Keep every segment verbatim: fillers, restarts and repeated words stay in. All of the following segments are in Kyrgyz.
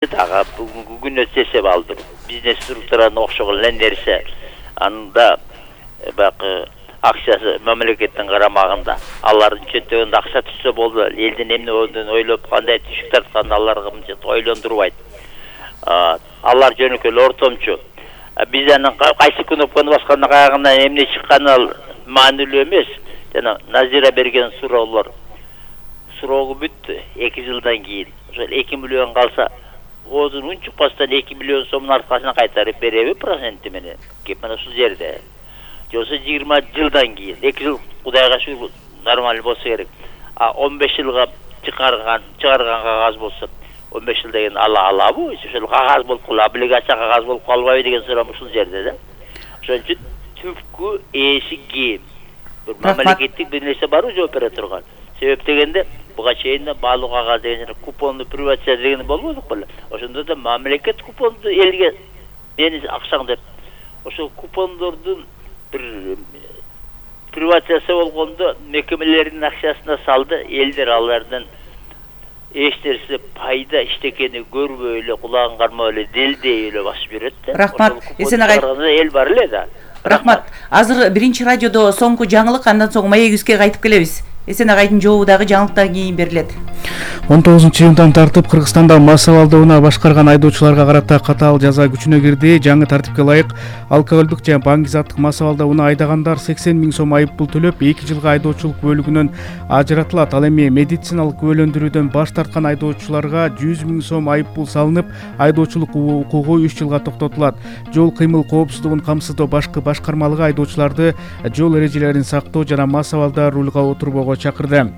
ага бүгүнкү күнү эсеп алды. Бизнес структураны окшогон эле нерсе. Анда бакы акчасы мамлекеттин карамагында. Алардын чөтөгүндө акча түшсө болду. Элдин эмне болduğunu ойлоп кандай түшүк тартканды аларга мынча ойлондурбайт. Алар жөнөкөй ортомчу. Биз анын кайсы кнопканы басканда кайгына эмне чыкканы маанилүү эмес. Жана Назира берген суроолор. Суроого бүттү эки жылдан кийин. Ошол эки миллион калса Озун унчукпастан эки миллион сомдун аркасына кайтарып береби проценти менен. Кеп мына ушул жерде. Жосо жыйырма жылдан кийин, эки жыл Кудайга шүгүр нормалдуу болсо керек. А он беш жылга чыгарган, чыгарган кагаз болсо он беш жылдан кийин ала алабы? Ошол кагаз болуп калабы, облигация кагаз болуп калбайбы деген суроо ушул жерде да. Ошон үчүн түпкү ээси ким? Бир мамлекеттик бир нерсе барбы жооп бере турган. Себеп дегенде буга чейин да баалуу кагаз деген купонду приватизация деген болбодук беле. Ошондо да мамлекет купонду элге мени акчаң деп. Ошол купондордун бир приватизация болгондо мекемелердин акчасына салды, элдер алардан эч нерсе пайда иштекени көрбөй эле, кулагын кармап эле, делдей эле басып берет да. Рахмат. Эсен агай. Эл бар эле да. Рахмат. Азыр биринчи радиодо соңку жаңылык, андан соң маегибизге кайтып келебиз. Эсен агайдын жообу дагы жаңылыктан кийин берилет. он тогузунчу июндан тартып Кыргызстанда массалык алдоону башкарган айдоочуларга карата катаал жаза күчүнө кирди. Жаңы тартипке ылайык алкоголдук жана баңгизаттык массалык алдоону айдагандар сексен миң сом айып пул төлөп, эки жылга айдоочулук бөлүгүнөн ажыратылат. Ал эми медициналык күбөлөндүрүүдөн баш тарткан айдоочуларга жүз миң сом айып пул салынып, айдоочулук укугу үч жылга токтотулат. Жол кыймыл коопсуздугун камсыздоо башкы башкармалыгы айдоочуларды жол эрежелерин сактоо жана массалыкта рулга отурбоого чакырды.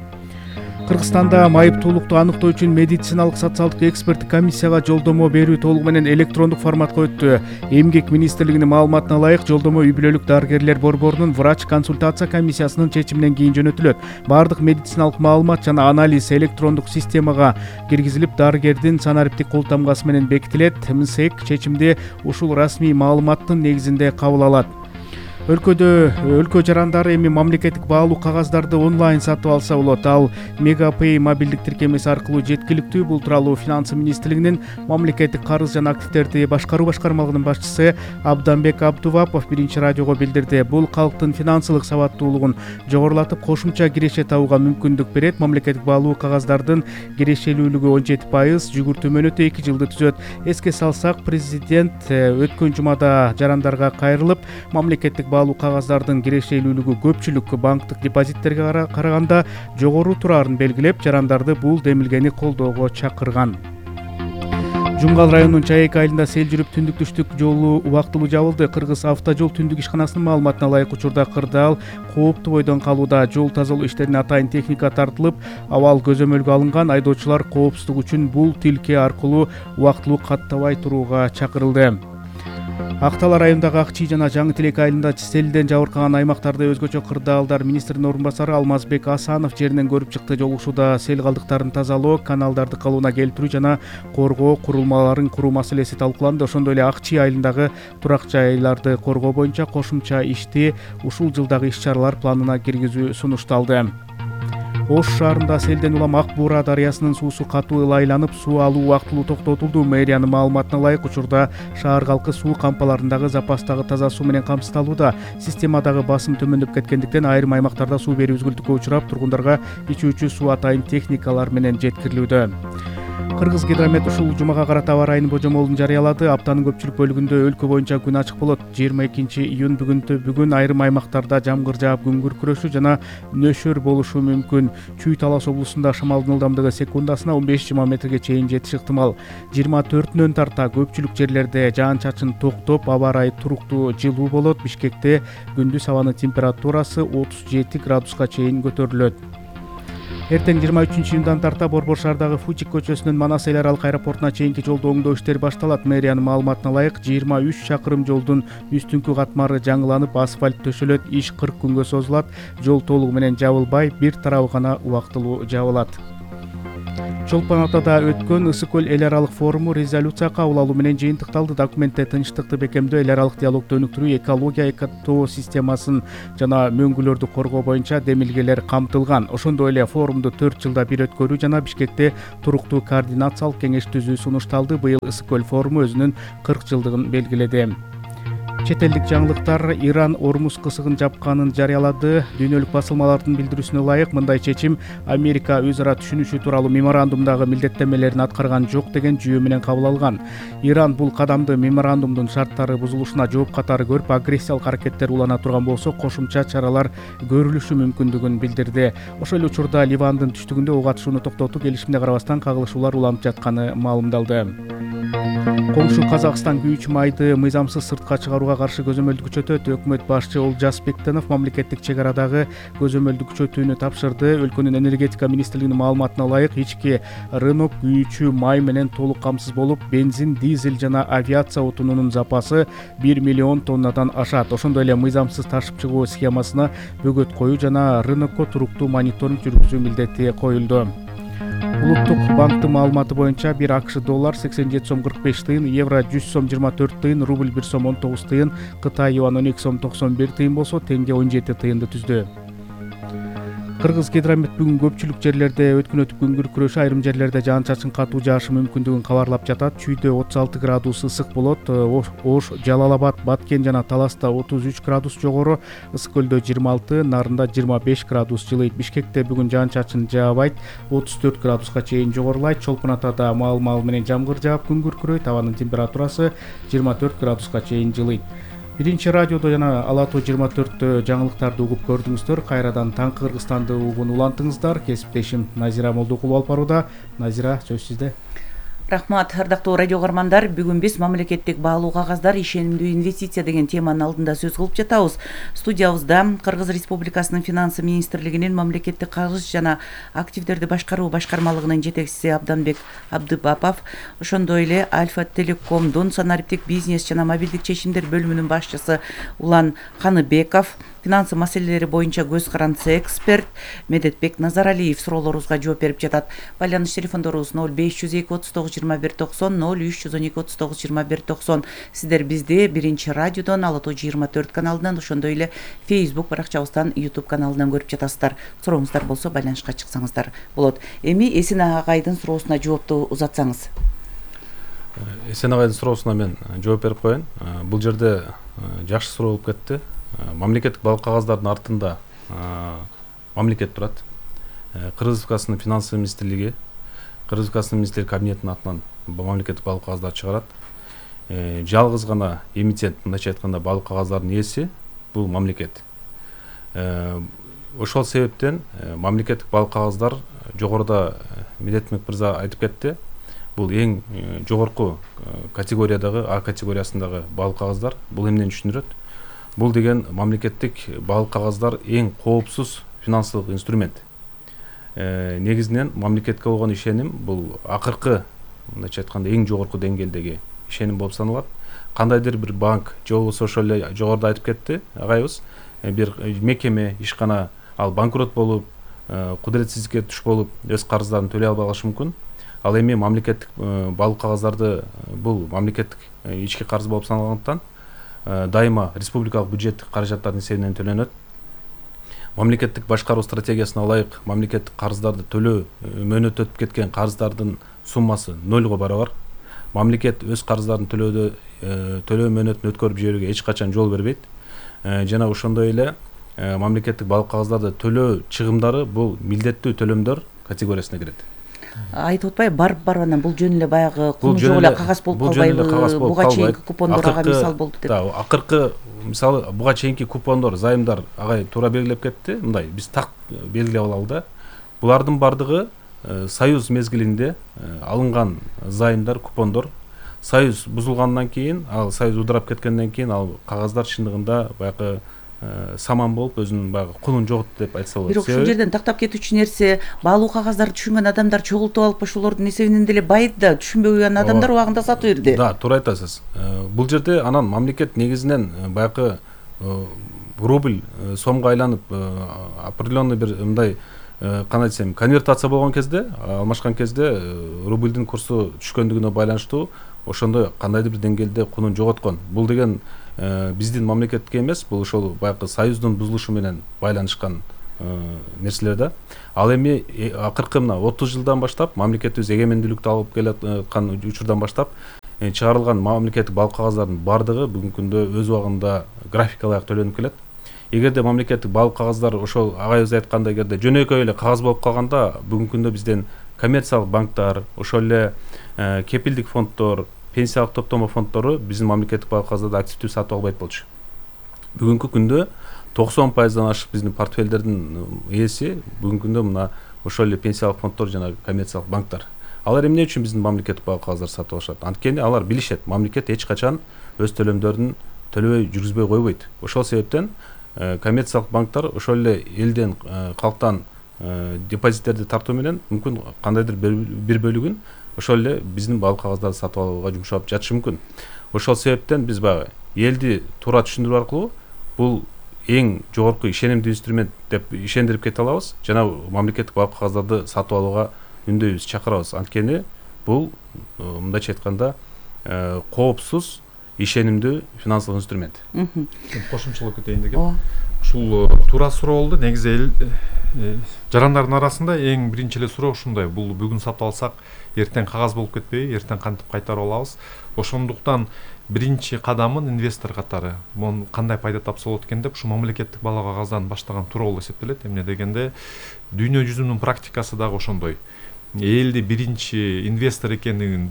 Кыргызстанда майыптуулукту аныктоо үчүн медициналык социалдык эксперттик комиссияга жолдомо берүү толугу менен электрондук форматка өттү. Эмгек министрлигинин маалыматына ылайык, жолдомо үй бүлөлүк дарыгерлер борборунун врач консультация комиссиясынын чечиминен кийин жөнөтүлөт. Бардык медициналык маалымат жана анализ электрондук системага киргизилип, дарыгердин санариптик кол тамгасы менен бекитилет. МСЭК чечимди ушул расмий маалыматтын негизинде кабыл алат. Өлкөдө өлкө жарандары эми мамлекеттик баалуу кагаздарды онлайн сатып алса болот. Ал Мегапей мобилдик тиркемеси аркылуу жеткиликтүү. Бул тууралуу Финансы министрлигинин мамлекеттик карыз жана активдерди башкаруу башкармалыгынын башчысы Абданбек Абдувапов биринчи радиого билдирди. Бул калктын финансылык сабаттуулугун жогорулатып, кошумча киреше табууга мүмкүндүк берет. Мамлекеттик баалуу кагаздардын кирешелүүлүгү он жети пайыз, жүгүртүү мөөнөтү эки жылды түзөт. Эске салсак, президент өткөн жумада жарандарга кайрылып, мамлекеттик баалуу кагаздардын кирешелүүлүгү көпчүлүк банктык депозиттерге караганда жогору турарын белгилеп, жарандарды бул демилгени колдоого чакырган. Жумгал районунун Чаек айылында сел жүрүп түндүк түштүк жолу убактылуу жабылды. Кыргыз автожол түндүк ишканасынын маалыматына ылайык, учурда кырдаал кооптуу бойдон калууда. Жол тазалоо иштерине атайын техника тартылып, абал көзөмөлгө алынган. Айдоочулар коопсуздук үчүн бул тилке аркылуу убактылуу каттабай турууга чакырылды. Актала районундагы Ак Чий жана Жаңы Тилек айылында селден жабыркаган аймактарда өзгөчө кырдаалдар. Министрдин орун басары Алмазбек Асанов жеринен көрүп чыкты. Жол ушууда сел калдыктарын тазалоо, каналдарды калыбына келтирүү жана коргоо курулмаларын куруу маселеси талкууланды. Ошондой эле Ак Чий айылындагы турак жайларды коргоо боюнча кошумча ишти ушул жылдагы иш-чаралар планына киргизүү сунушталды. Ош шаарында селден улам Ак Буура дарыясынын суусу катуу ылайланып, суу алуу убактылуу токтотулду. Мэриянын маалыматына ылайык, учурда шаар калкы суу кампаларындагы запастагы таза суу менен камсыздалууда. Системадагы басым төмөндөп кеткендиктен айрым аймактарда суу берүү үзгүлтүккө учурап, тургундарга ичүүчү суу атайын техникалар менен жеткирилүүдө. Кыргыз гидромет ушул жумага карата аба ырайынын божомолун жарыялады. Аптанын көпчүлүк бөлүгүндө өлкө боюнча күн ачык болот. жыйырма экинчи июнь бүгүн бүгүн айрым аймактарда жамгыр жаап, күн күркүрөшүү жана нөшөр болушу мүмкүн. Чүй Талас облусунда шамалдын ылдамдыгы секундасына он беш жыйырма метрге чейин жетиши ыктымал. жыйырма төртүнөн тарта көпчүлүк жерлерде жаан-чачын токтоп, аба ырайы туруктуу, жылуу болот. Бишкекте күндүз абанын температурасы отуз жети градуска чейин көтөрүлөт. Эртең жыйырма үчүнчү июндан тарта Борбор шаардагы Фучик көчөсүнөн Манас эл аралык аэропортуна чейинки жолду оңдоо иштери башталат. Мэриянын маалыматына ылайык, жыйырма үч чакырым жолдун үстүңкү катмары жаңыланып, асфальт төшөлөт. Иш кырк күнгө созулат. Жол толугу менен жабылбай, бир тарабы гана убактылуу жабылат. Чолпон Атада өткөн Ысык көл эл аралык форуму резолюция кабыл алуу менен жыйынтыкталды. Документте тынчтыкты бекемдөө, эл аралык диалогду өнүктүрүү, экология, экотоо системасын жана мөңгүлөрдү коргоо боюнча демилгелер камтылган. Ошондой эле форумду төрт жылда бир өткөрүү жана Бишкекте туруктуу координациялык кеңеш түзүү сунушталды. Быйыл Ысык көл форуму өзүнүн кырк жылдыгын белгиледи. Чет элдик жаңылыктар: Иран Ормуз кысыгын жапканын жарыялады. Дүйнөлүк басылмалардын билдирүүсүнө ылайык, мындай чечим Америка өз ара түшүнүшү тууралуу меморандумдагы милдеттенмелерин аткарган жок деген жүйө менен кабыл алган. Иран бул кадамды меморандумдун шарттары бузулушуна жооп катары көрүп, агрессиялык аракеттер улана турган болсо, кошумча чаралар көрүлүшү мүмкүндүгүн билдирди. Ошол эле учурда Ливандын түштүгүндө ок атышууну токтотуу келишимине карабастан кагылышуулар уланып жатканы маалымдалды. Коңшу Казакстан күйүүчү майды мыйзамсыз сыртка чыгарууга каршы көзөмөлдү күчөтөт. Өкмөт башчы Олжас Бектенов мамлекеттик чек арадагы көзөмөлдү күчөтүүнү тапшырды. Өлкөнүн энергетика министрлигинин маалыматына ылайык, ички рынок күйүүчү май менен толук камсыз болуп, бензин, дизель жана авиация отунунун запасы бир миллион тоннадан ашат. Ошондой эле мыйзамсыз ташып чыгуу схемасына бөгөт коюу жана рынокко туруктуу мониторинг жүргүзүү милдети коюлду. Улуттук банктын маалыматы боюнча бир АКШ доллар сексен жети сом кырк беш тыйын, евро жүз сом жыйырма төрт тыйын, рубль бир сом он тогуз тыйын, Кытай юан он эки сом токсон бир тыйын болсо, теңге он жети тыйынды түздү. Кыргыз Гидромет бүгүн көпчүлүк жерлерде өткүн өтүп күнгүр күрөшү, айрым жерлерде жаан-чачын катуу жаашы мүмкүндүгүн кабарлап жатат. Чүйдө отуз алты градус ысык болот. Ош, Жалал Абад, Баткен жана Таласта отуз үч градус жогору, Ысык көлдө жыйырма алты, Нарында жыйырма беш градус жылыйт. Бишкекте бүгүн жаан-чачын жаабайт, отуз төрт градуска чейин жогорулайт. Чолпон Атада маал-маал менен жамгыр жаап күнгүр күрөйт. Абанын температурасы жыйырма төрт градуска чейин жылыйт. Биринчи радиодо жана Ала тоо жыйырма төрттө жаңылыктарды угуп көрдүңүздөр. Кайрадан таңкы Кыргызстанды угууну улантыңыздар. Кесиптешим Назира Молдокулова алып барууда. Назира, сөз сизде. Рахмат, ардактуу радио каармандар. Бүгүн биз мамлекеттик баалуу кагаздар, ишенимдүү инвестиция деген теманын алдында сөз кылып жатабыз. Студиябызда Кыргыз Республикасынын финансы министрлигинин мамлекеттик кагыз жана активдерди башкаруу башкармалыгынын жетекчиси Абданбек Абдыбапов, ошондой эле Альфа Телекомдун санариптик бизнес жана мобилдик чечимдер бөлүмүнүн башчысы Улан Ханыбеков, финансы маселелери боюнча көз карандысы эксперт Медетбек Назаралиев суроолорубузга жооп берип жатат. Байланыш телефондорубуз ноль беш жүз эки отуз тогуз жыйырма бир токсон, ноль үч жүз он эки отуз тогуз жыйырма бир токсон. Сиздер бизди биринчи радиодон, Ала тоо жыйырма төрт каналынан, ошондой эле Facebook баракчабыздан, YouTube каналынан көрүп жатасыздар. Сурооңуздар болсо байланышка чыксаңыздар болот. Эми Эсен агайдын суроосуна жоопту узатсаңыз. Эсен агайдын суроосуна мен жооп берип коеюн. Бул жерде жакшы суроо болуп кетти. Мамлекеттик баалуу кагаздардын артында мамлекет турат. Кыргыз Республикасынын финансы министрлиги, Кыргыз Республикасынын министрлер кабинетинин атынан мамлекеттик баалуу кагаздарды чыгарат. Жалгыз гана эмитент, мындайча айтканда, баалуу кагаздардын ээси бул мамлекет. Ошол себептен мамлекеттик баалуу кагаздар жогоруда Медетбек мырза айтып кетти. Бул эң жогорку категориядагы, А категориясындагы баалуу кагаздар. Бул эмнени түшүндүрөт? Бул деген мамлекеттик баалуу кагаздар эң коопсуз финансылык инструмент. Негизинен мамлекетке болгон ишеним бул акыркы, мындайча айтканда, эң жогорку деңгээлдеги ишеним болуп саналат. Кандайдыр бир банк же болбосо ошол эле жогоруда айтып кетти агайыбыз, бир мекеме, ишкана ал банкрот болуп, кудуретсиздикке туш болуп, өз карыздарын төлөй албай калышы мүмкүн. Ал эми мамлекеттик баалуу кагаздарды бул мамлекеттик ички карыз болуп саналгандыктан дайыма республикалык бюджеттик каражаттардын эсебинен төлөнөт. Мамлекеттик башкаруу стратегиясына ылайык мамлекеттик карыздарды төлөө мөөнөтү өтүп кеткен карыздардын суммасы нолго барабар. Мамлекет өз карыздарын төлөөдө төлөө мөөнөтүн өткөрүп жиберүүгө эч качан жол бербейт. Жана ошондой эле мамлекеттик баалуу кагаздарды төлөө чыгымдары бул милдеттүү төлөмдөр категориясына кирет. Айтып атпайбы, барып барып анан бул жөн эле баягы куну жок эле кагаз болуп калбайбы? Буга чейинки купондор ага мисал болду деп. Да, акыркы мисалы буга чейинки купондор, зайымдар агай туура белгилеп кетти. Мындай биз так белгилеп алалы да. Булардын бардыгы союз мезгилинде алынган зайымдар, купондор. Союз бузулгандан кийин, ал союз удурап кеткенден кийин ал кагаздар чындыгында баягы саман болуп өзүнүн баягы кулун жоготту деп айтса болот. Бирок ушул жерден тактап кетүүчү нерсе, баалуу кагаздарды түшүнгөн адамдар чогултуп алып ошолордун эсебинен деле байыды да, түшүнбөгөн адамдар убагында сатып берди. Да, туура айтасыз. Бул жерде анан мамлекет негизинен баягы рубль сомго айланып определенный бир мындай кандай десем, конвертация болгон кезде, алмашкан кезде рубльдин курсу түшкөндүгүнө байланыштуу ошондой кандайдыр бир деңгээлде кунун жоготкон. Бул деген биздин мамлекетке эмес, бул ошол баягы союздун бузулушу менен байланышкан нерселер да. Ал эми акыркы мына отуз жылдан баштап, мамлекетибиз эгемендүүлүктү алып келаткан учурдан баштап чыгарылган мамлекеттик балык кагаздардын бардыгы бүгүнкү күндө өз убагында графикалык төлөнүп келет. Эгерде мамлекеттик балык кагаздар ошол агайыбыз айткандай эгерде жөнөкөй эле кагаз болуп калганда, бүгүнкү күндө бизден коммерциялык банктар, ошол эле кепилдик фонддор, пенсиялык топтомо фонддору биздин мамлекеттик балык кагаздарды активдүү сатып албайт болчу. Бүгүнкү күндө токсон пайыздан ашык биздин портфелдердин ээси бүгүнкү күндө мына ошол эле пенсиялык фонддор жана коммерциялык банктар. Алар эмне үчүн биздин мамлекеттик балык кагаздарды сатып алышат? Анткени алар билишет, мамлекет эч качан өз төлөмдөрүн төлөбөй жүргүзбөй койбойт. Ошол себептен коммерциялык банктар ошол эле элден, калктан депозиттерди тартуу менен мүмкүн кандайдыр бир бөлүгүн ошол эле биздин балык кагаздарды сатып алууга жумшап жатышы мүмкүн. Ошол себептен биз баягы элди туура түшүндүрүү аркылуу бул эң жогорку ишенимдүү инструмент деп ишендирип кете алабыз жана мамлекеттик балык кагаздарды сатып алууга үндөйбүз, чакырабыз. Анткени бул мындайча айтканда коопсуз, ишенимдүү финансылык инструмент. Кошумчалап кетейин дегем. Ушул туура суроо болду. Негизи эл жарандардын арасында эң биринчи эле суроо ушундай. Бул бүгүн сатып алсак, эртең кагаз болуп кетпейби? Эртең кантип кайтарып алабыз? Ошондуктан биринчи кадамын инвестор катары мун кандай пайда тапса болот экен деп ушу мамлекеттик балык кагаздан баштаган туура болуп эсептелет. Эмне дегенде дүйнө жүзүнүн практикасы дагы ошондой. Элди биринчи инвестор экендигин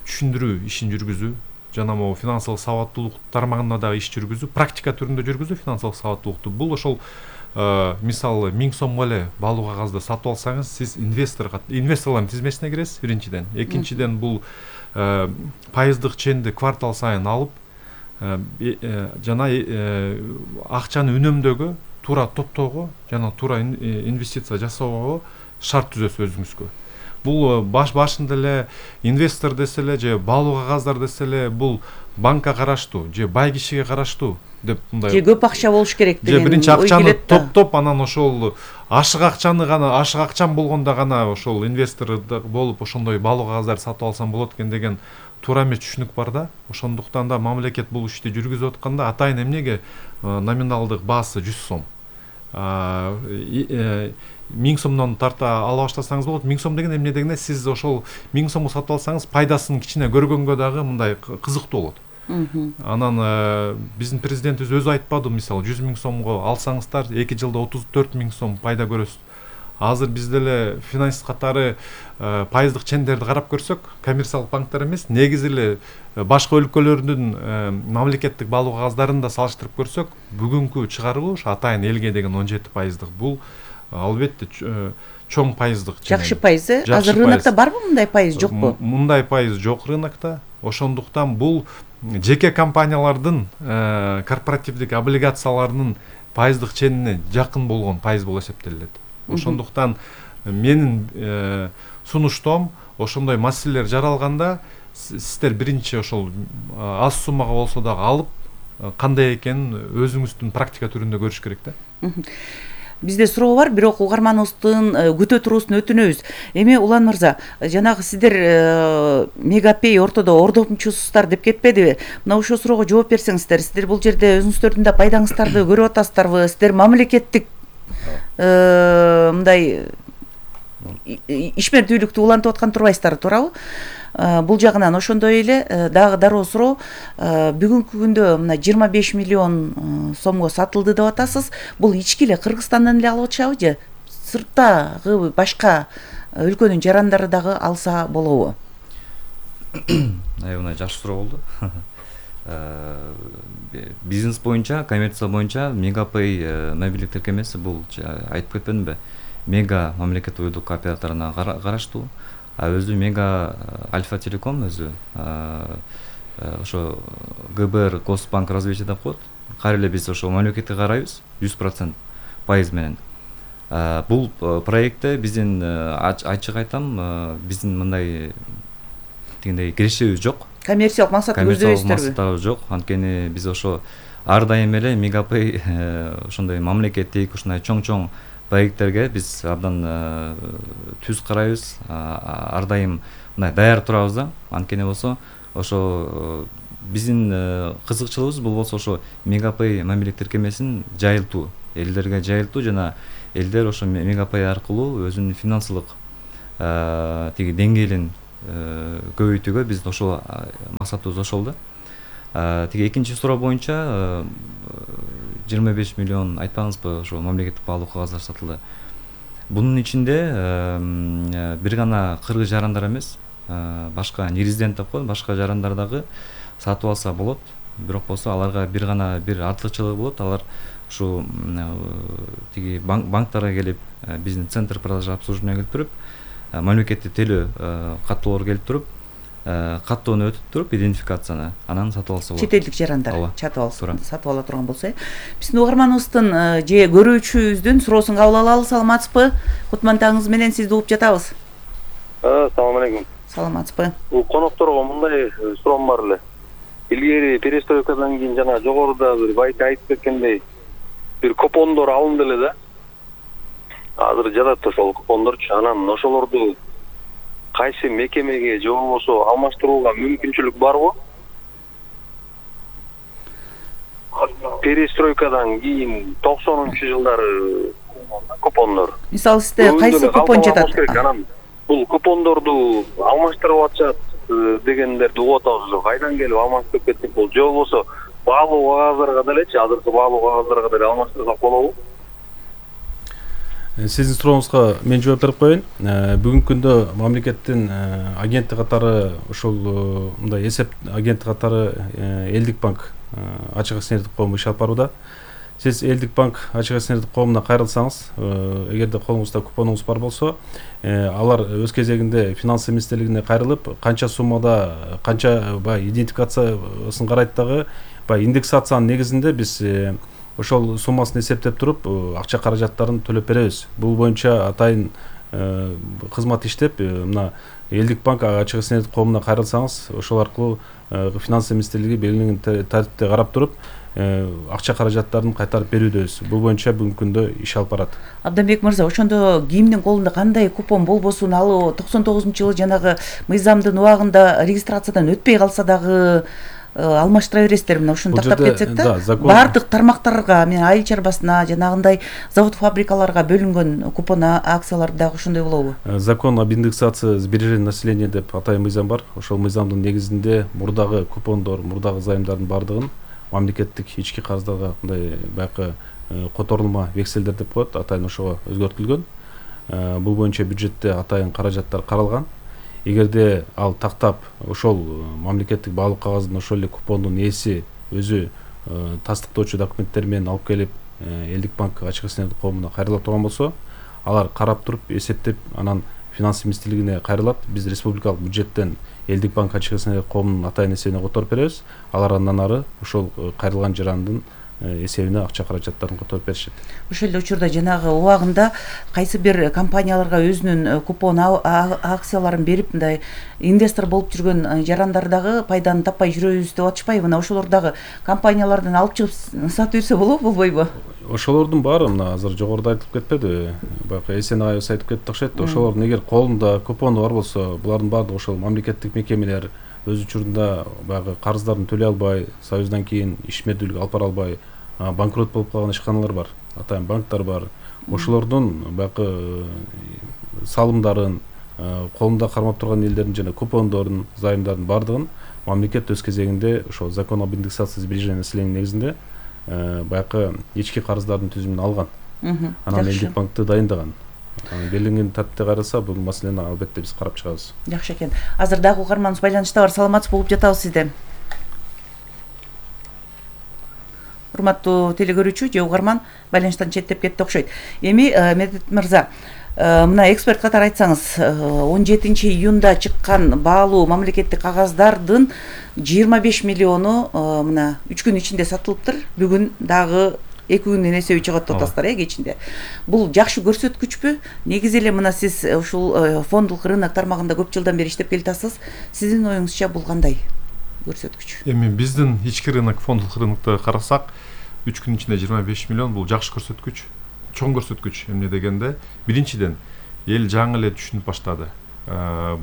түшүндүрүү ишин жүргүзүү жана могу финансылык сабаттуулук тармагында дагы иш жүргүзүү, практика түрүндө жүргүзүү финансылык сабаттуулукту. Бул ошол мисалы миң сомго эле балык кагазды сатып алсаңыз, сиз инвестор инвесторлордун тизмесине киресиз биринчиден. Экинчиден бул пайыздык ченди квартал сайын алып жана акчаны үнөмдөөгө, туура топтоого жана туура инвестиция жасоого шарт түзөсүз өзүңүзгө. Бул баш башында эле инвестор десе эле же балык кагаздар десе эле бул банкка караштуу же бай кишиге караштуу деп мындай. Же көп акча болуш керек деген. Же биринчи акчаны топтоп, анан ошол ашык акчаны гана, ашык акчам болгондо гана ошол инвестор болуп ошондой балык кагаздарды сатып алсам болот экен деген туура эмес түшүнүк бар да. Ошондуктан да мамлекет бул ишти жүргүзүп атканда атайын эмнеге номиналдык баасы жүз сом. миң сомдон тарта ала баштасаңыз болот. миң сом деген эмне дегенде сиз ошол миң сомго сатып алсаңыз пайдасын кичине көргөнгө дагы мындай кызыктуу болот. Анан биздин президентибиз өзү айтпадыбы, мисалы жүз миң сомго алсаңыздар эки жылда отуз төрт миң сом пайда көрөсүз. Азыр бизде эле финансист катары пайыздык чендерди карап көрсөк, коммерциялык банктар эмес, негизи эле башка өлкөлөрдүн мамлекеттик балык кагаздарын да салыштырып көрсөк, бүгүнкү чыгаруу ошо атайын элге деген он жети пайыздык. Бул албетте чоң пайыздык. Жакшы пайыз. Азыр рынокто барбы мындай пайыз, жокпу? Мындай пайыз жок рынокто. Ошондуктан бул жеке компаниялардын корпоративдик облигацияларынын пайыздык ченине жакын болгон пайыз болуп эсептелет. Ошондуктан менин сунуштом ошондой маселелер жаралганда сиздер биринчи ошол аз суммага болсо дагы алып кандай экенин өзүңүздүн практика түрүндө көрүш керек да. Бизде суроо бар, бирок угарманыбыздын күтө туруусун өтүнөбүз. Эми Улан мырза, жанагы сиздер Мегапей ортодо ордомчусуздар деп кетпедиби? Мына ошол суроого жооп берсеңиздер, сиздер бул жерде өзүңүздөрдүн да пайдаңыздарды көрүп атасыздарбы? Сиздер мамлекеттик мындай ишмердүүлүктү улантып аткан турбайсыздар, туурабы? Бул жагынан ошондой эле дагы дароо суроо, бүгүнкү күндө мына жыйырма беш миллион сомго сатылды деп атасыз. Бул ички эле Кыргызстандан эле алып атышабы же сырттагы башка өлкөнүн жарандары дагы алса болобу? Мына жакшы суроо болду. Бизнес боюнча, коммерция боюнча Мегапей мобилдик тиркемеси бул айтып кетпедимби? Мега мамлекеттик уюлдук операторуна караштуу. А өзү Мега Альфа Телеком өзү ошо ГБР Госбанк развитие деп коет. Кайра эле биз ошо мамлекетке карайбыз жүз процент пайыз менен. Бул проектте биздин ачык айтам, биздин мындай дегендей кирешебиз жок. Коммерциялык максат көздөйбүздөрбү? Максаттар жок. Анткени биз ошо ар дайым эле Мегапей ошондой мамлекеттик ушундай чоң-чоң проекттерге биз абдан түз карайбыз, ар дайым мындай даяр турабыз да. Анткени болсо ошо биздин кызыкчылыгыбыз бул болсо ошо Мегапay мамиле тиркемесин жайылтуу, элдерге жайылтуу жана элдер ошо Мегапay аркылуу өзүнүн финансылык тиги деңгээлин көбөйтүүгө биз ошол максатыбыз ошол да. Тиги экинчи суроо боюнча жыйырма беш миллион айтпаңызбы ошо мамлекеттик баалуу кагаздар сатылды. Бунун ичинде бир гана кыргыз жарандар эмес, башка нерезидент деп коет, башка жарандар дагы сатып алса болот. Бирок болсо аларга бир гана бир артыкчылыгы болот. Алар ушу тиги банктарга келип, биздин центр продажа обслуживания келип туруп, мамлекеттик төлөө каттоолор келип туруп, каттоону өтүп туруп, идентификацияны анан сатып алса болот. Чет элдик жарандар сатып алса, сатып ала турган болсо. Биздин угарманыбыздын же көрүүчүбүздүн суроосун кабыл алалы. Саламатсызбы? Кутман таңыңыз менен сизди угуп жатабыз. Салам алейкум. Саламатсызбы? Бул конокторго мындай суроом бар эле. Илгери перестройкадан кийин жана жогоруда бир байка айтып кеткендей бир купондор алынды эле да. Азыр жатат ошол купондорчу. Анан ошолорду кайсы мекемеге же болбосо алмаштырууга мүмкүнчүлүк барбы? Перестройкадан кийин токсонунчу жылдары купондор. Мисалы сизде кайсы купон жатат? Анан бул купондорду алмаштырып атышат дегендерди угуп атабыз. Кайдан келип алмаштырып кеттик бул? Же болбосо баалуу кагаздарга делечи, азыркы баалуу кагаздарга деле алмаштырсак болобу? Сиздин сурооңузга мен жооп берип коеюн. Бүгүнкү күндө мамлекеттин агенттик катары ошол мындай эсеп агенттик катары Элдик банк ачык акционердик коому иш алып барууда. Сиз Элдик банк ачык акционердик коомуна кайрылсаңыз, эгерде колуңузда купонуңуз бар болсо, алар өз кезегинде финансы министрлигине кайрылып, канча суммада, канча баягы идентификациясын карайт дагы, баягы индексациянын негизинде биз ошол суммасын эсептеп туруп, акча каражаттарын төлөп беребиз. Бул боюнча атайын кызмат иштеп, мына Элдик банк ачык акционердик коомуна кайрылсаңыз, ошол аркылуу финансы министрлиги белгиленген тартипте карап туруп, акча каражаттарын кайтарып берүүдөбүз. Бул боюнча бүгүнкү күндө иш алып барат. Абданбек мырза, ошондо кимдин колунда кандай купон болбосун, ал токсон тогузунчу жылы жанагы мыйзамдын убагында регистрациядан өтпөй калса дагы алмаштыра бересиздер. Мына ушуну тактап кетсек да, баардык тармактарга, мен айыл чарбасына, жанагындай завод фабрикаларга бөлүнгөн купон акциялар дагы ошондой болобу? Закон об индексации сбережений населения деп атайын мыйзам бар. Ошол мыйзамдын негизинде мурдагы купондор, мурдагы займдардын баардыгын мамлекеттик ички карыздарга мындай баягы которулма векселдер деп коет, атайын ошого өзгөртүлгөн. Бул боюнча бюджетте атайын каражаттар каралган. Эгерде ал тактап ошол мамлекеттик баалуу кагаздын ошол эле купондун ээси өзү тастыктоочу документтер менен алып келип Элдик банк ачык акционердик коомуна кайрыла турган болсо, алар карап туруп эсептеп анан финансы министрлигине кайрылат. Биз республикалык бюджеттен Элдик банк ачык акционердик коомунун атайын эсебине которуп беребиз. Алар андан ары ошол кайрылган жарандын эсебине акча каражаттарын которуп беришет. Ошол эле учурда жанагы убагында кайсы бир компанияларга өзүнүн купон акцияларын берип, мындай инвестор болуп жүргөн жарандар дагы пайданы таппай жүрөбүз деп атышпайбы? Мына ошолор дагы компаниялардан алып чыгып сатып берсе болобу, болбойбу? Ошолордун баары мына азыр жогоруда айтылып кетпеди, баягы эсен агайыбыз айтып кетти окшойт. Ошолордун эгер колунда купону бар болсо, булардын баардыгы ошол мамлекеттик мекемелер өз учурунда баягы карыздарын төлөй албай, союздан кийин ишмердүүлүк алып бара албай банкрот болуп калган ишканалар бар, атайын банктар бар. Ошолордун баягы салымдарын, колунда кармап турган элдердин жана купондорун, займдардын баардыгын мамлекет өз кезегинде ошол закон об индексации сбережений населения негизинде баягы ички карыздардын түзүмүн алган. Анан Элдик банкты дайындаган. Белгиленген тартипте караса, бул маселени албетте биз карап чыгабыз. Жакшы экен. Азыр дагы угарманыбыз байланышта бар. Саламатсызбы, угуп жатабыз сизди. Урматтуу телекөрүүчү же угарман, байланыштан четтеп кетти окшойт. Эми Медет мырза, мына эксперт катары айтсаңыз, он жетинчи июнда чыккан баалуу мамлекеттик кагаздардын жыйырма беш миллиону мына үч күн ичинде сатылыптыр. Бүгүн дагы эки күндүн эсеби чыгат деп атасыздар, э, кечинде. Бул жакшы көрсөткүчпү? Негизи эле мына сиз ушул фондулук рынок тармагында көп жылдан бери иштеп келатасыз. Сиздин оюңузча бул кандай көрсөткүч? Эми биздин ички рынок, фондулук рынокто карасак, үч күн ичинде жыйырма беш миллион бул жакшы көрсөткүч. чоң көрсөткүч. Эмне дегенде, биринчиден эл жаңы эле түшүнүп баштады.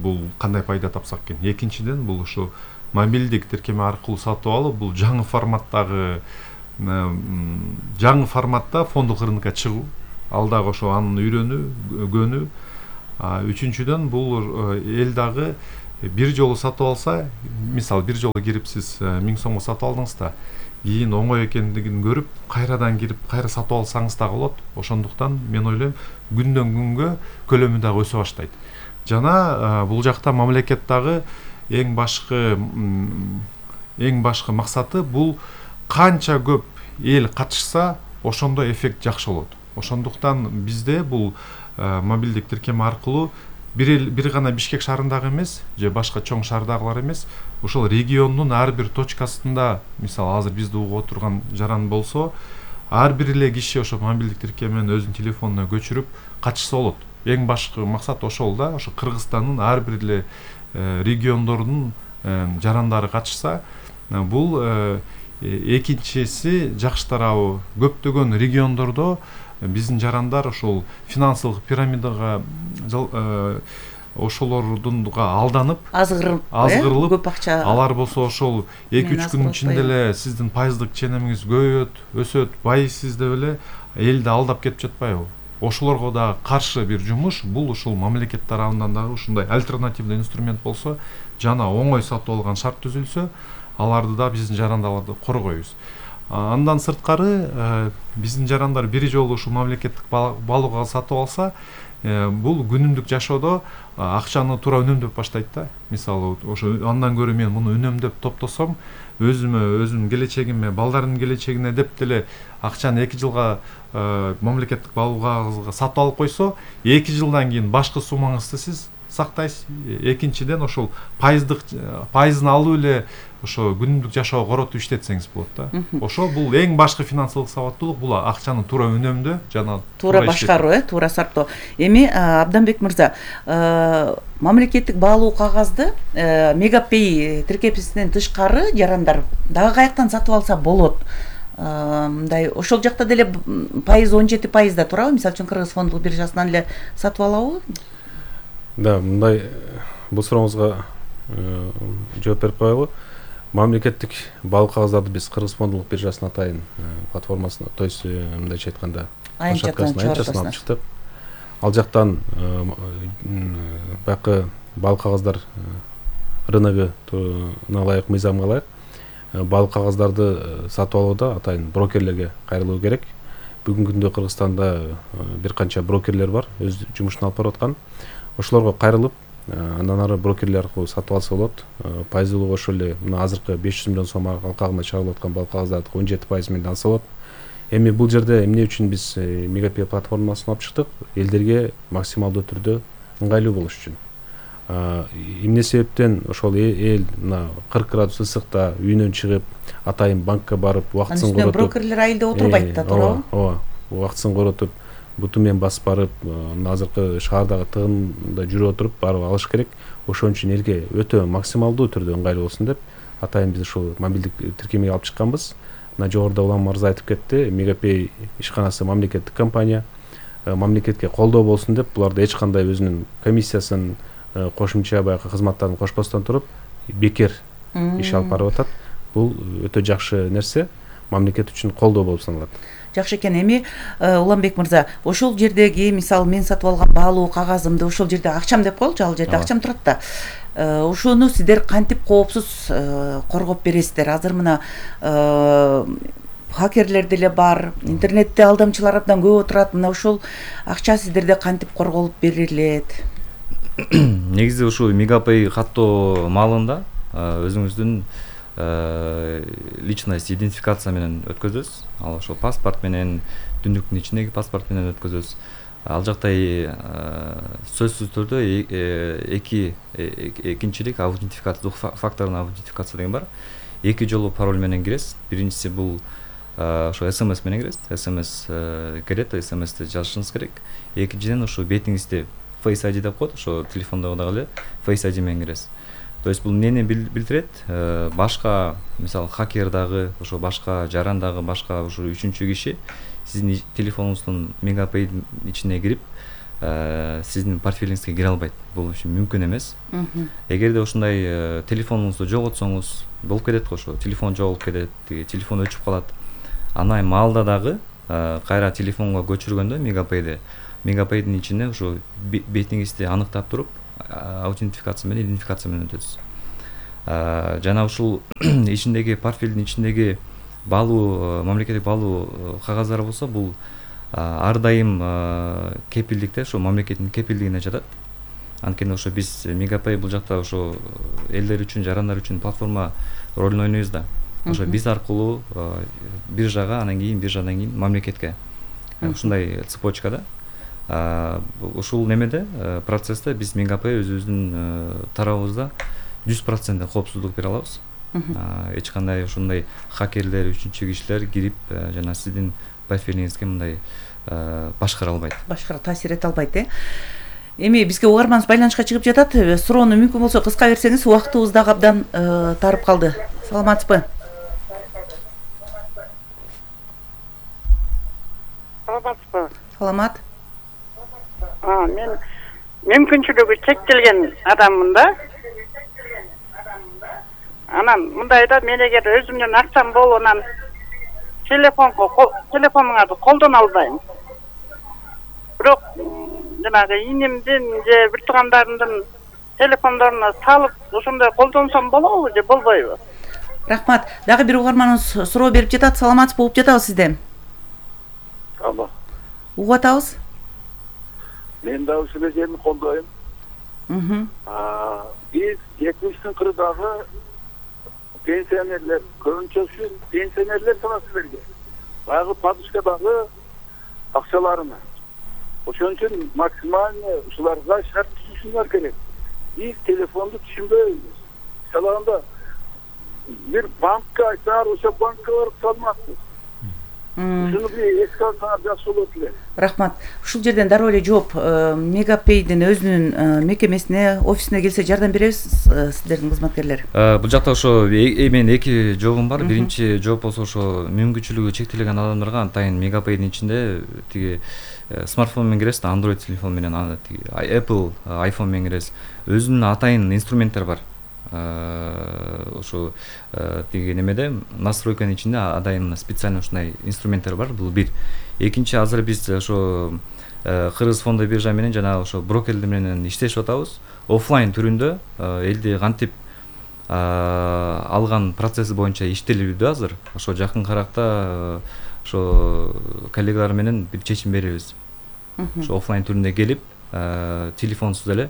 Бул кандай пайда тапсак экен. Экинчиден бул ушу мобилдик тиркеме аркылуу сатып алуу бул жаңы форматтагы жаңы форматта фонддук рынокко чыгуу. Ал дагы ошо анын үйрөнүү, көнүү. Үчүнчүдөн бул эл дагы бир жолу сатып алса, мисалы бир жолу кирип сиз миң сомго сатып алдыңыз да, кийин оңой экендигин көрүп, кайрадан кирип, кайра сатып алсаңыз дагы болот. Ошондуктан мен ойлойм, күндөн күнгө көлөмү дагы өсө баштайт. Жана бул жакта мамлекет дагы эң башкы эң башкы максаты бул канча көп эл катышса, ошондой эффект жакшы болот. Ошондуктан бизде бул мобилдик тиркеме аркылуу бир бир гана Бишкек шаарындагы эмес, же башка чоң шаардагылар эмес, ошол региондун ар бир точкасында, мисалы азыр бизди угуп отурган жаран болсо, ар бир эле киши ошо мобилдик тиркемени өзүнүн телефонуна көчүрүп катышса болот. Эң башкы максат ошол да, ошо Кыргызстандын ар бир эле региондорунун жарандары катышса, бул экинчиси жакшы тарабы көптөгөн региондордо биздин жарандар ошол финансылык пирамидага ошолордунга алданып азгырылып көп акча, алар болсо ошол эки үч күнүн ичинде эле сиздин пайыздык ченемиңиз көбөйөт, өсөт, байысыз деп эле элди алдап кетип жатпайбы? Ошолорго да каршы бир жумуш, бул ушул мамлекет тарабынан дагы ушундай альтернативный инструмент болсо, жана оңой сатып алган шарт түзүлсө, аларды да биздин жарандарды коргойбуз. Андан сырткары биздин жарандар бир жолу ушул мамлекеттик балууга сатып алса, бул күнүмдүк жашоодо акчаны туура үнөмдөп баштайт да. Мисалы, ошо андан көрө мен муну үнөмдөп топтосом, өзүмө, өзүмдүн келечегиме, балдардын келечегине деп деле акчаны эки жылга мамлекеттик балууга сатып алып койсо, эки жылдан кийин башкы суммаңызды сиз сактайсыз. Экинчиден ошол пайыздык пайызын алып эле ошо күнүмдүк жашоого коротуп иштетсеңиз болот да. Ошо бул эң башкы финансылык сабаттуулук, бул акчаны туура үнөмдөө жана туура башкаруу, э, туура сарптоо. Эми Абданбек мырза, мамлекеттик баалуу кагазды Мегапей тиркемесинен тышкары жарандар дагы каяктан сатып алса болот? Мындай ошол жакта деле пайыз он жети пайызда турабы? Мисалы үчүн Кыргыз фонддук биржасынан эле сатып алабы? Да, мындай бул сурооңузга жооп берип коелу. Мамлекеттик баалуу кагаздарды биз Кыргыз фонддук биржасына атайын платформасына, то есть мындайча айтканда площадкасына алып чыктык. Ал жактан байкы баалуу кагаздар рыногуна ылайык, мыйзамга ылайык баалуу кагаздарды сатып алууда атайын брокерлерге кайрылуу керек. Бүгүнкү күндө Кыргызстанда бир канча брокерлер бар, өз жумушун алып барып аткан. Ошолорго кайрылып, андан ары брокерлер аркылуу сатып алса болот. Пайыздуулугу ошол эле мына азыркы беш жүз миллион сом алкагында чыгарылып аткан баалуу кагаздарды он жети пайыз менен алса болот. Эми бул жерде эмне үчүн биз Мегапей платформасын алып чыктык? Элдерге максималдуу түрдө ыңгайлуу болуш үчүн. Эмне себептен ошол эл мына кырк градус ысыкта үйүнөн чыгып, атайын банкка барып, убактысын коротуп, брокерлер айылда отурбайт да, туурабы? Ооба, убактысын коротуп, буту менен басып барып, азыркы шаардагы тыгында жүрүп отуруп барып алыш керек. Ошон үчүн элге өтө максималдуу түрдө ыңгайлуу болсун деп, атайын биз ушул мобилдик тиркемеге алып чыкканбыз. Мына жогоруда Улам мырза айтып кетти, Мегапей ишканасы мамлекеттик компания, мамлекетке колдоо болсун деп, буларда эч кандай өзүнүн комиссиясын, кошумча баягы кызматтарын кошпостон туруп, бекер иш алып барып атат. Бул өтө жакшы нерсе, мамлекет үчүн колдоо болуп саналат. Жакшы экен. Эми Уламбек мырза, ошол жердеги, мисалы мен сатып алган баалуу кагазымды ошол жерде акчам деп коелучу, ал жерде акчам турат да. Ошону сиздер кантип коопсуз коргоп бересиздер? Азыр мына хакерлер деле бар, интернетте алдамчылар абдан көп отурат. Мына ошол акча сиздерде кантип корголуп берилет? Негизи ушул Мегапей каттоо маалында өзүңүздүн личность идентификация менен өткөзөбүз. Ал ошол паспорт менен, түндүктүн ичиндеги паспорт менен өткөзөбүз. Ал жакта сөзсүз түрдө эки экинчилик аутентификация, двух факторный аутентификация деген бар. Эки жолу пароль менен киресиз. Биринчиси бул ошо смс менен киресиз. смс келет, смсти жазышыңыз керек. Экинчиден ошо бетиңизди Face ай ди деп коет, ошо телефондогу дагы эле Face ай ди менен киресиз. То есть бул эмнени билдирет? Башка, мисалы, хакер дагы, ошо башка жаран дагы, башка ошо үчүнчү киши сиздин телефонуңуздун мегапейдин ичине кирип сиздин портфелиңизге кире албайт. Бул үчүн мүмкүн эмес. Эгерде ушундай телефонуңузду жоготсоңуз болуп кетет го, ошо телефон жоголуп кетет, телефон өчүп калат. Ана маалда дагы кайра телефонго көчүргөндө мегапейди мегапейдин ичине ошо бетиңизди аныктап туруп аутентификация менен идентификация менен өтөсүз. Жана ушул ичиндеги портфелдин ичиндеги баалуу мамлекеттик баалуу кагаздары болсо, бул ар дайым кепилдикте, ошо мамлекеттин кепилдигине жатат. Анткени ошо биз мегапей бул жакта ошо элдер үчүн, жарандар үчүн платформа ролун ойнойбуз да. Ошо биз аркылуу биржага, анан кийин биржадан кийин мамлекетке. Ушундай цепочкада. Ушул немеде процессте биз мегапей өзүбүздүн тарабыбызда жүз процент коопсуздук бере алабыз. Эч кандай ушундай хакерлер, үчүнчү кишилер кирип жана сиздин портфелиңизге мындай башкара албайт. Башкара таасир эте албайт, э? Эми бизге угарманыбыз байланышка чыгып жатат. Суроону мүмкүн болсо кыска берсеңиз, убактыбыз дагы абдан тарып калды. Саламатсызбы? Саламатсызбы? Саламат. А, мен мүмкүнчүлүгү чектелген адаммын да. Анан мындай да, мен эгер өзүмдүн акчам болуп анан телефонго телефонуңарды колдоно албайм. Бирок жанагы инимдин же бир туугандарымдын телефондоруна салып ошондой колдонсом болобу же болбойбу? Рахмат. Дагы бир угарманыбыз суроо берип жатат. Саламатсыз болуп жатабыз сизде. Алло. Угуп атабыз. Мен дагы ушул жерни колдойм. Мм. А, биз жетимиштин кырдагы пенсионерлер, көбүнчөсү пенсионерлер санасы берген. Баягы подушкадагы акчаларына. Ошон үчүн максимально ушуларга шарт түзүшүңөр керек. Биз телефонду түшүнбөйбүз. Салганда бир банкка айтсаңар, ошо банкка барып салмакпыз. Ушуну бир эске алсаңар жакшы болот эле. Рахмат. Ушул жерден дароо эле жооп, мегапейдин өзүнүн мекемесине, офисине келсе жардам беребиз сиздердин кызматкерлер. Бул жакта ошо менин эки жообум бар. Биринчи жооп болсо ошо мүмкүнчүлүгү чектелген адамдарга антайын мегапейдин ичинде тиги смартфон менен киресиз, Android телефон менен, Apple iPhone менен киресиз. Өзүнүн атайын инструменттер бар. Ошо тиги немеде настройканын ичинде адайын специально ушундай инструменттер бар. Бул бир. Экинчи, азыр биз ошо Кыргыз фондо биржа менен жана ошо брокерлер менен иштешип атабыз. Оффлайн түрүндө элди кантип алган процесси боюнча иштелүүдө азыр. Ошо жакын каракта ошо коллегалар менен бир чечим беребиз. Ошо оффлайн түрүндө келип, телефонсуз эле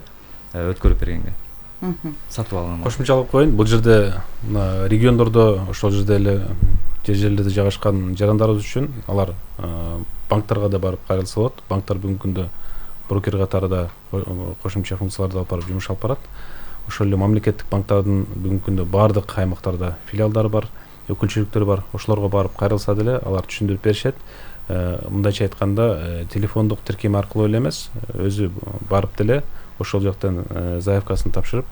өткөрүп бергенге. Сатып алган. Кошумчалап коеюн, бул жерде мына региондордо, ошол жерде эле жер жерлерде жайгашкан жарандарыбыз үчүн алар банктарга да барып кайрылса болот. Банктар бүгүнкү күндө брокер катарында кошумча функцияларды алып барып жумуш алып барат. Ошол эле мамлекеттик банктардын бүгүнкү күндө баардык аймактарда филиалдары бар, өкүлчүлүктөрү бар. Ошолорго барып кайрылса деле алар түшүндүрүп беришет. Мындайча айтканда, телефондук тиркеме аркылуу эле эмес, өзү барып деле ошол жактан заявкасын тапшырып,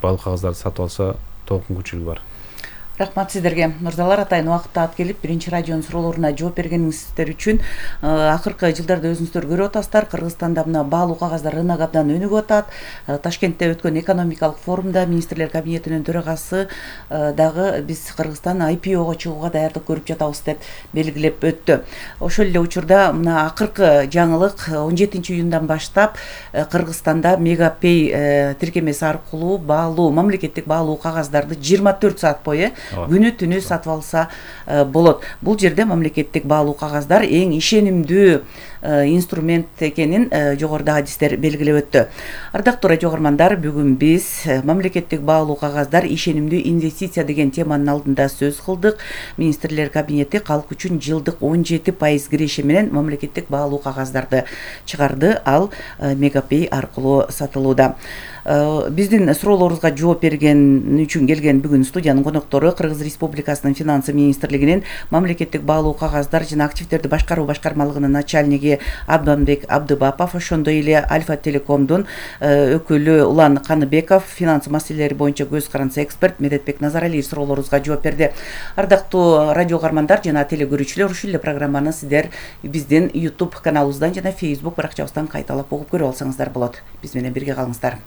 баалуу кагаздарды сатып алса толук мүмкүнчүлүгү бар. Рахмат сиздерге. Мырзалар, атайын убакытта ат келип биринчи радионун суроолоруна жооп бергениңиздер үчүн. Акыркы жылдарда өзүңүздөр көрүп атасыздар, Кыргызстанда мына баалуу кагаздар рынок абдан өнүгүп атат. Ташкентте өткөн экономикалык форумда министрлер кабинетинин төрагасы дагы биз Кыргызстан ай пи ого чыгууга даярдык көрүп жатабыз деп белгилеп өттү. Ошол эле учурда мына акыркы жаңылык он жетинчи июндан баштап Кыргызстанда мегапей тиркемеси аркылуу баалуу мамлекеттик баалуу кагаздарды жыйырма төрт саат бою күнү түнү сатып алса болот. Бул жерде мамлекеттик баалуу кагаздар эң ишенимдүү инструмент экенин жогоруда адистер белгилеп өттү. Ардактуу радио угармандар, бүгүн биз мамлекеттик баалуу кагаздар ишенимдүү инвестиция деген теманын алдында сөз кылдык. Министрлер кабинети калк үчүн жылдык он жети пайыз киреше менен мамлекеттик баалуу кагаздарды чыгарды, ал мегапей аркылуу сатылууда. Биздин суроолорубузга жооп берген үчүн келген бүгүн студиянын коноктору Кыргыз Республикасынын финансы министрлигинин мамлекеттик баалуу кагаздар жана активдерди башкаруу башкармалыгынын начальниги директори Абданбек Абдыбапов, ошондой эле Альфа Телекомдун өкүлү Улан Каныбеков, финанс маселелери боюнча көз каранса эксперт Медетбек Назаралиев суроолорубузга жооп берди. Ардактуу радио угармандар жана телекөрүүчүлөр, ушул эле программаны сиздер биздин YouTube каналыбыздан жана Facebook баракчабыздан кайталап угуп көрүп алсаңыздар болот. Биз менен бирге калыңыздар.